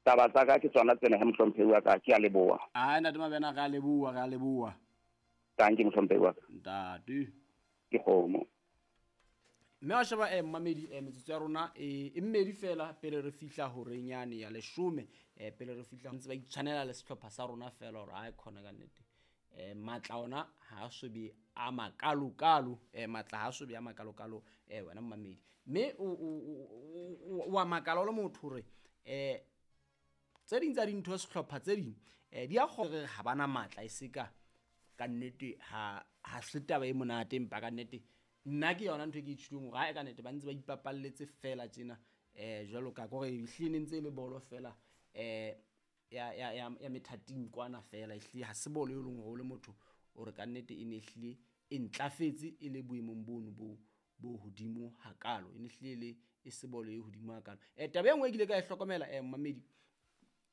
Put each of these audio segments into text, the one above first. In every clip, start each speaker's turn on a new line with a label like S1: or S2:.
S1: Taba tsa ka ke tsona tsena he mohlomphehi wa ka, ke a leboha.
S2: Ai ntate Mabena, re a leboha, re a leboha.
S1: Tanki mohlomphehi wa ka.
S2: Ntate.
S1: Ke kgomo.
S2: Mme wa sheba eh, mmamedi eh, metsotso ya rona eh, e mmedi fela pele re fihla horeng yane ya leshome eh, pele re fihla ntse ba itshwanela le sehlopha sa rona fela hore a khona ka nnete eh, matla ona ha a so be a makalokalo eh, matla ha a so be a makalokalo eh, wena mmamedi mme o a makala o le motho hore eh, tse ding tsa dintho sehlopha tse ding eh, di a gore ha bana matla e se ka ka nnete ha ha se taba e monate empa ka nnete nna ke yona ntho e ke ithutileng hore ha ka nnete ba ntse ba ipapalletse fela tjena eh jwalo ka kore ehlile ne ntse e le bolo fela eh ya ya ya ya methating kwana fela ehlile ha se bolo e leng hore o le motho o re ka nnete e ne ehlile e ntlafetse e le boemong bono bo bo hodimo hakalo e ne hlile le e se bolo e hodimo hakalo. Taba e nngwe e ke ile ka e hlokomela mmamedi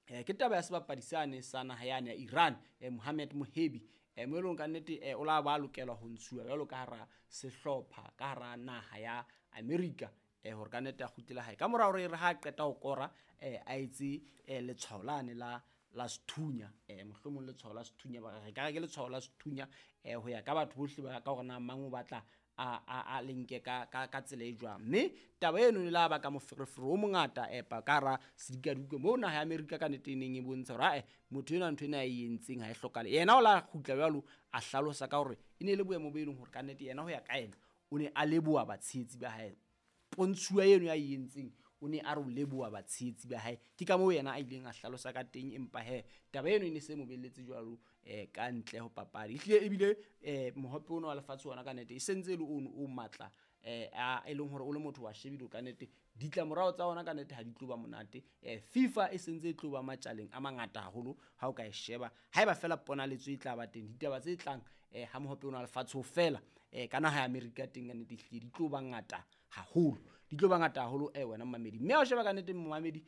S2: ke taba ya sebapadi sane sa naha yane ya Iran Mohamed Mohebi mo e leng ka nnete o la ba lokela ho ntshuwa jwalo ka hara sehlopha ka hara naha ya America hore ka nnete a kgutlele hae ka mora hore re ha qeta ho kora a etse letshwao lane la la sethunya mohlomong letshwao la sethunya ba re ka re ke letshwao la sethunya ho ya ka batho bohle ba ka hore na mang o batla a le nke ka tsela e jwang. Mme taba eno e la baka moferefere o mongata epa ka hara sedikadikwe moo naha ya Amerika ka nnete e neng e bontsha hore ae motho enwa ntho ena a e entseng ha e hlokahale. Yena o la kgutla jwalo a hlalosa ka hore e ne e le boemo bo e leng hore ka nnete yena ho ya ka yena o ne a leboha batshehetsi ba hae. Pontshuwa eno ya e entseng o ne a re o leboha batshehetsi ba hae. Ke ka moo yena a ileng a hlalosa ka teng, empa he taba eno e ne se mo belletse jwalo ka ntle ho papadi. Ehlile ebile mohope ona wa lefatshe ona ka nnete e sentse e le ono o matla a e leng hore o le motho wa shebile ka nnete ditlamorao tsa ona ka nnete ha di tlo ba monate. FIFA e sentse e tlo ba matjaleng a mangata haholo ha o ka e sheba. Haeba fela ponaletso e tla ba teng, ditaba tse tlang ha mohope ona wa lefatshe ho fela ka naha ya Amerika teng ka nnete ehlile di tlo ba ngata haholo, di tlo ba ngata haholo wena mmamedi. Mme ha o sheba ka nnete mmamedi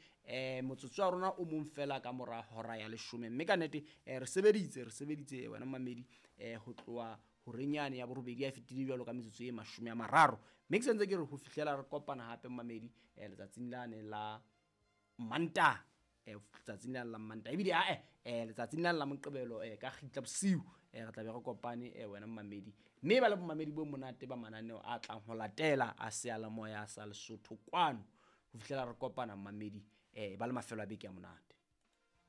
S2: motsotso wa rona o mong fela ka mora hora ya leshome, mme ka nnete re sebeditse wena mmamedi ho tloha horeng yane ya borobedi ya fetile jwalo ka metsotso e 30. Mme ke sentse ke re ho fihlela re kopana hape mmamedi letsatsing lane la Mantaha, letsatsing lane la Mantaha ebile ae letsatsing lane la Moqebelo ka kgitla bosiu re tla be re kopane wena mmamedi. Mme ba le bomamedi bo monate ba mananeo a tlang ho latela a seyalemoya sa Lesotho kwano ho fihlela re kopana mmamedi ba le mafelo a beke a monate.